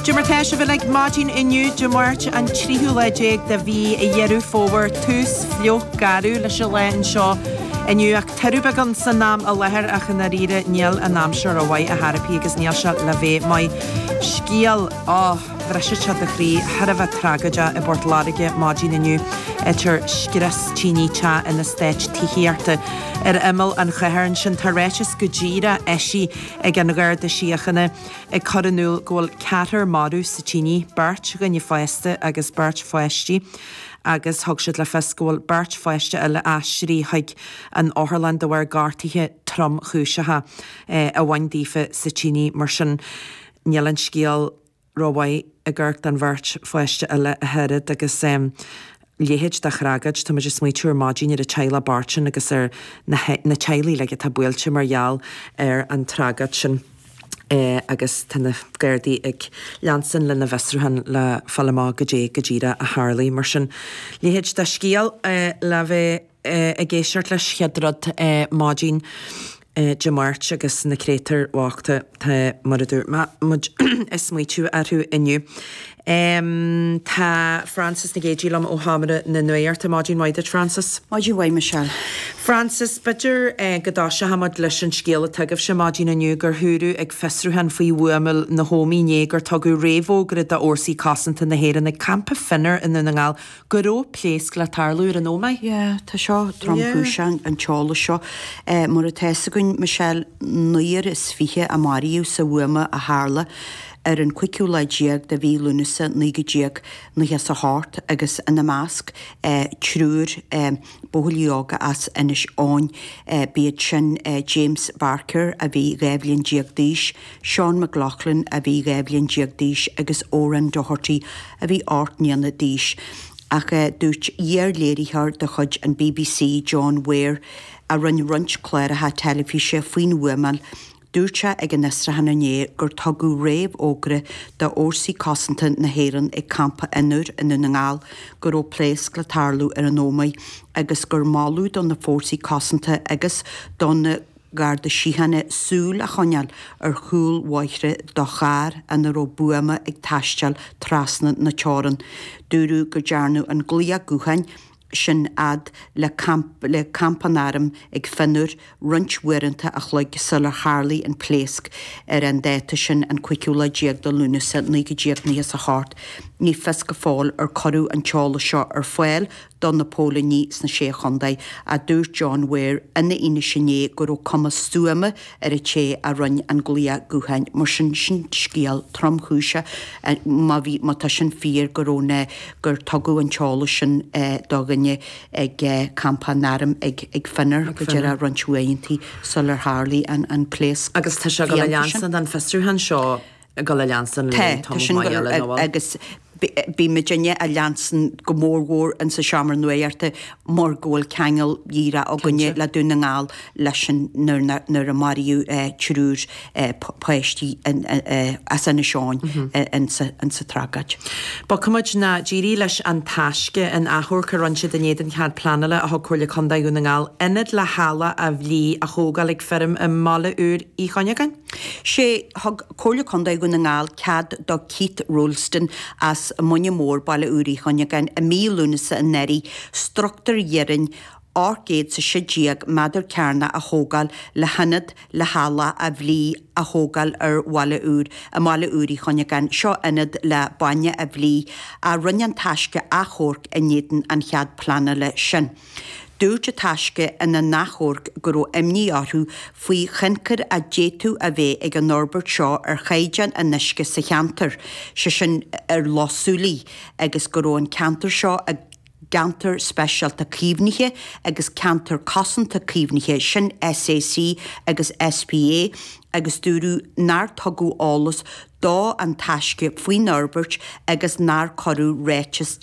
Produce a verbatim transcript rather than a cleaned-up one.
Cad é mar tá sibh uilig maidin inniu Dé Máirt an tríú lá déag de mhí Dheireadh Fómhair tús fliuch garbh leis an lá anseo inniu ach tuirbean beagán san am i láthair ach i ndáiríre níl an aimsir rómhaith ar chor ar bith agus níl sé le bheith maith scéal á bhrisfeadh sé do chroí thar a bheith tragóideach i bPort Láirge maidin inniu idir scrios tine teach in eastát tithíochta ar imeall an chathair ansin tá ráiteas go díreach eisithe ag an Gharda Síochána ag cur in iúl go bhfuil ceathrar marbh sa tine, beirt dhuine fásta agus beirt pháistí agus thug siad le fios go bhfuil beirt pháiste eile aistrithe chuig an otharlann de bharr gortuithe tromchúiseacha a bhain daofa sa tine mar sin níl an scéal rómhaith ag amharc don bheirt pháiste eile a oiread agus um, leithéid de thragóid tá muid ag smaoitiú ar maidin ar an teaghlach bocht sin agus ar na, na teaghlaigh uilig atá buailte mar gheall ar an tragóid sin. Eh, agus tá na Gardaí ag leanstan lena bhfiosrúchán le fáil amach goidé go díreach a tharla mar sin. Leithéid de scéal eh, le bheith eh, ag éisteacht leis chéad rud eh, maidin eh, Dé Máirt agus na créatúir bhochta tá mar a dúirt muid ag smaoitiú orthu inniu. Um, tá Frances Nic Géadaigh liom ó Sheomra na Nuachta maidin mhaith duit Frances. Maidin mhaith Michelle. Frances b'fhéidir eh, go dtoiseochaidh muid leis an scéal atá agaibhse maidin inniu gur dúradh ag fiosrúchán faoi bhuamáil na hÓmaí inné gur tugadh réamhfhógra d'fhórsaí cosanta na hÉireann ag campa Finner i nDún na nGall go raibh pléasc le tarlú ar an Ómaigh. Yeah, tá seo tromchúiseach an t-eolas seo. Eh, mar atá a fhios againn Michelle naonúr is fiche a maraíodh sa bhuama a tharla ar an cúigiú lá déag de mhí Lúnasa naoi déag nócha a hocht agus ina measc eh, triúr eh, buachaillí óga as Inis Eoghain eh, b'iad sin eh, James Barker a bhí dhá bhliain déag d'aois, Sean McLaughlin a bhí dhá bhliain déag d'aois agus Oran Doherty a bhí ocht mbliana d'aois. Ach eh, dúirt iar-léiritheoir de chuid an BBC John Ware a rinne roinnt cláracha teilifíse faoin bhuamáil, Dúirt sé ag an fhiosrúchán inné gur tugadh réamhfhógra d'fhórsaí cosanta na hÉireann ag campa Fhionnúr i nDún na nGall go raibh pléasc le tarlú ar an Ómaigh agus gur moladh do na fórsaí cosanta agus do na Garda Síochána súil a choinneáil ar chúl bóithre do charr ina raibh buama ag taisteal trasna na teorann. Dúradh go ndearnadh an glaoch gutháin sin fhad le camp le campa an airm ag Fionnúr roinnt uaireanta a chloig sular tharla an pléasc ar an dáta sin an cúigiú lá déag de Lúnasa naoi déag nócha a hocht. Ní fios go fóill ar cuireadh an t-eolas seo ar fáil do na póilíní sna sé chontae a dúirt John Ware ina fhianaise inné go raibh cuma stuama ar an té a rinne an glaoch gutháin mar sin sin scéal tromchúiseach má bhí má tá sin fíor go raibh na gur tugadh an t-eolas sin eh, do dhuine ag eh, campa an airm ag ag Fionnúr go deireadh roinnt uaireanta sular tharla an an pléasc. Agus tá sé go le leanstan an fiosrúchán seo go le leanstan Tá tá sin go- agus bí muidinne a leanstan go mórmhór in sa seomra nuachta mar go bhfuil ceangal díreach againne le Dún na nGall leis an nuair a maraíodh triúr páistí as Inis Eoghain in sa tragóid. Bogfaimid ná dírí leis an taisce an achomharc a rinne siad in éadan cead pleanála a thug Comhairle Contae Dhún na nGall ionad le heallach a bhlí a thógáil ag feirm i mBaile Úr Uí Chuinneagáin. Sé thug Comhairle Contae Dhún na nGall cead do Keith Rolston as Muine Mór Baile Úr Uí Chuinneagáin i mí Lúnasa anuraidh struchtúr iarainn ocht gcéad is a sé déag méadar cearnach a thógáil le hionad le heallach a bhlí a thógáil ar Bhaile Úr i mBaile Úr Uí Chuinneagáin seo ionad le bainne a bhlí a rinne an taisce achomharc in éadan an chead pleanála sin. Dúirt an taisce ina n-achomharc go raibh imní orthu faoi thionchar a d'fhéadfadh a bheith ag an fhorbairt seo ar chaighdeán an uisce sa cheantar, sé sin ar Loch Súilí agus go raibh an ceantar seo i gceantar speisialta caomhnaithe agus ceantar cosanta caomhnaithe sin SAC agus SPA agus dúradh nár tugadh eolas do an taisce faoin fhorbairt agus nár cuireadh ráiteas